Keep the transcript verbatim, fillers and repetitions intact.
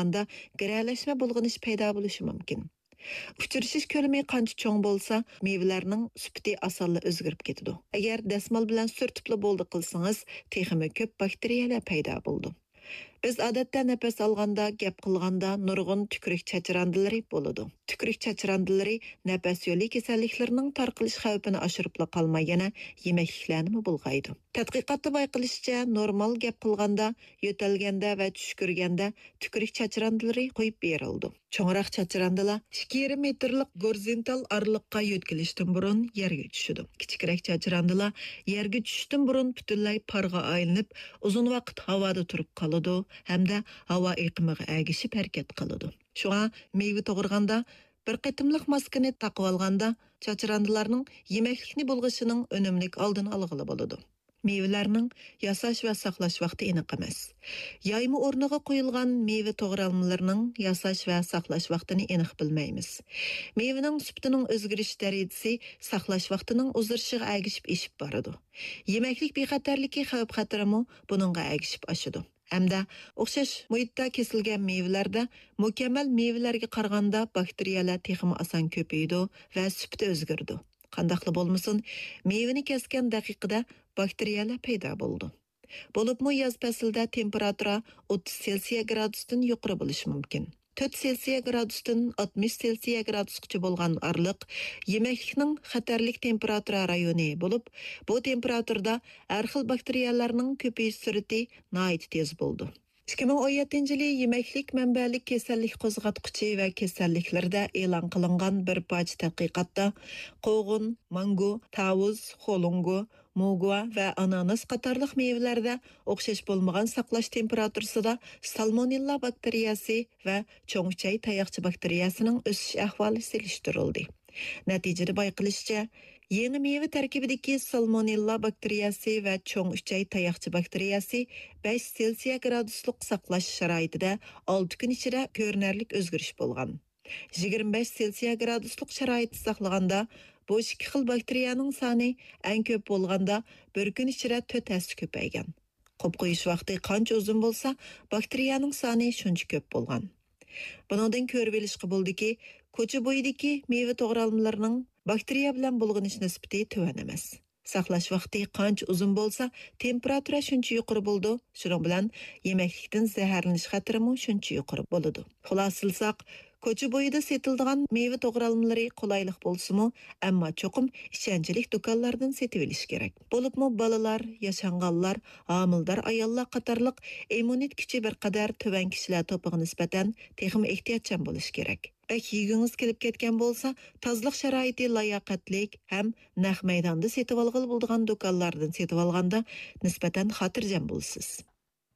ئاندا گىرەلەشمە بۇلغىنىش پەيدا بولۇشى مۇمكىن. ئۇچرىشىش كۆلىمى قانچە چوڭ بولسا، مېۋىلەرنىڭ سۈپىتى ئاسانلا ئۆزگىرىپ كېتىدۇ. ئەگەر دەسمال بىلەن سۈرتۈپلا بولدى قىلسىڭىز، تېخىمۇ كۆپ باكتېرىيەلەر پەيدا بولىدۇ. بىز ئادەتتە نەپەس ئالغاندا، گەپ قىلغاندا نۇرغۇن تۈكرۈك چاچراندىلىرى بولىدۇ. تۈكرۈك چاچراندىلىرى نەپەس يولى كېسەللىكلىرىنىڭ تارقىلىش خەۋپىنى ئاشۇرۇپلا قالماي، يەنە يېمەكلىكلەرنىمۇ بۇلغايدۇ. تەتقىقاتتا بايقىلىشىچە، نورمال گەپ قىلغاندا، يۆتەلگەندە ۋە چۈشكۈرگەندە تۈكرۈك چاچراندىلىرى قويۇپ بېرىلىدۇ. چوڭراق چاچراندىلار ئىككى يېرىم مېتىرلىق گورىزونتال ئارىلىققا يۆتكىلىشتىن بۇرۇن يەرگە چۈشىدۇ. كىچىكرەك چاچراندىلار يەرگە چۈشۈشتىن بۇرۇن پۈتۈنلەي پارغا ئايلىنىپ، ئۇزۇن ۋاقىت ھاۋادا تۇرۇپ قالىدۇ ھەمدە ھاۋا ئېقىمىغا ئەگىشىپ ھەرىكەت قىلىدۇ. شۇڭا مېۋە توغرىغاندا بىر قېتىملىق ماسكىنى تاقىۋالغاندا، چاچراندىلارنىڭ يېمەكلىكنى بۇلغىشىنىڭ ئۈنۈملۈك ئالدىنى ئالغىلى بولىدۇ. مېۋىلەرنىڭ ياساش ۋە ساقلاش ۋاقتى ئېنىق ئەمەس. يايما ئورنىغا قويۇلغان مېۋە توغرالمىلىرىنىڭ ياساش ۋە ساقلاش ۋاقتىنى ئېنىق بىلمەيمىز. مېۋىنىڭ سۈپىتىنىڭ ئۆزگىرىش دەرىجىسى ساقلاش ۋاقتىنىڭ ئۇزىرىشىغا ئەگىشىپ ئېشىپ بارىدۇ. يېمەكلىك بىخەتەرلىكى خەۋپ-خەتىرىمۇ بۇنىڭغا ئەگىشىپ ئاشىدۇ. ھەمدە ئوخشاش مۇھىتتا كېسىلگەن مېۋىلەردە مۇكەممەل مېۋىلەرگە قارىغاندا باكتېرىيەلەر تېخىمۇ ئاسان كۆپىيىدۇ ۋە سۈپىتى ئۆزگىرىدۇ. قانداقلا بولمىسۇن، مېۋىنى كەسكەن دەقىقىدە باكتېرىيەلەر پەيدا بولىدۇ. بولۇپمۇ ياز پەسلىدە تېمپېراتۇرا ئوتتۇز سېلسىيە گرادۇستىن يۇقىرى بولۇشى مۇمكىن. تۆت سېلسىيە گرادۇستىن ئاتمىش سېلسىيە گرادۇسقىچە بولغان ئارىلىق يېمەكلىكنىڭ خەتەرلىك تېمپېراتۇرا رايونى بولۇپ، بۇ تېمپېراتۇرىدا ھەر خىل باكتېرىيەلەرنىڭ كۆپىيىش سۈرئىتى ناھايىتى تېز بولىدۇ. ئىككى مىڭ ئون يەتتىنچى يىلى يېمەكلىك مەنبەلىك كېسەللىك قوزغاتقۇچى ۋە كېسەللىكلىرىدە ئېلان قىلىنغان بىر پارچە تەتقىقاتتا قوغۇن، مانگو، تاۋۇز، خولۇڭگو، موگۇا ۋە ئاناناس قاتارلىق مېۋىلەردە ئوخشاش بولمىغان ساقلاش تېمپېراتۇرىسىدا سالمونېللا باكتېرىيەسى ۋە چوڭ ئۈچەي تاياقچە باكتېرىيەسىنىڭ ئۆسۈش ئەھۋالى سېلىشتۇرۇلدى. نەتىجىدە بايقىلىشىچە، يېڭى مېۋە تەركىبىدىكى سالمونېللا باكتېرىيەسى ۋە چوڭ ئۈچەي تاياقچە باكتېرىيەسى بەش سېلسىيە گرادۇسلۇق ساقلاش شارائىتىدە ئالتە كۈن ئىچىدە كۆرۈنەرلىك ئۆزگىرىش بولغان. يىگىرمە بەش سېلسىيە گرادۇسلۇق شارائىتتا ساقلىغاندا، بۇ ئىككى خىل باكتېرىيەنىڭ سانى ئەڭ كۆپ بولغاندا بىر كۈن ئىچىدە تۆت ھەسسە كۆپەيگەن. قوپقويۇش ۋاقتى قانچە ئۇزۇن بولسا، باكتېرىيەنىڭ سانى شۇنچە كۆپ بولغان. بۇنىڭدىن كۆرۈۋېلىشقا بولىدۇكى، كوچا بويىدىكى مېۋە توغرالمىلىرىنىڭ باكتېرىيە بىلەن بۇلغىنىش نىسبىتى تۆۋەن ئەمەس. ساقلاش ۋاقتى قانچە ئۇزۇن بولسا، تېمپېراتۇرا شۇنچە يۇقىرى بولىدۇ، شۇنىڭ بىلەن يېمەكلىكتىن زەھەرلىنىش خەتىرىمۇ شۇنچە يۇقىرى بولىدۇ. خۇلاسىلىساق، كوچا بويىدا سېتىلىدىغان مېۋە توغرالمىلىرى قولايلىق بولسىمۇ، ئەمما چوقۇم ئىشەنچلىك دۇكانلاردىن سېتىۋېلىش كېرەك. بولۇپمۇ بالىلار، ياشانغانلار، ھامىلىدار ئاياللار قاتارلىق ئىممۇنىتېت كۈچى بىر قەدەر تۆۋەن كىشىلەر توپىغا نىسبەتەن تېخىمۇ ئېھتىياتچان بولۇش كېرەك. بەك يېگۈڭىز كېلىپ كەتكەن بولسا، تازىلىق شارائىتى لاياقەتلىك ھەم نەق مەيداندا سېتىۋالغىلى بولىدىغان دۇكانلاردىن سېتىۋالغاندا نىسبەتەن خاتىرجەم بولىسىز.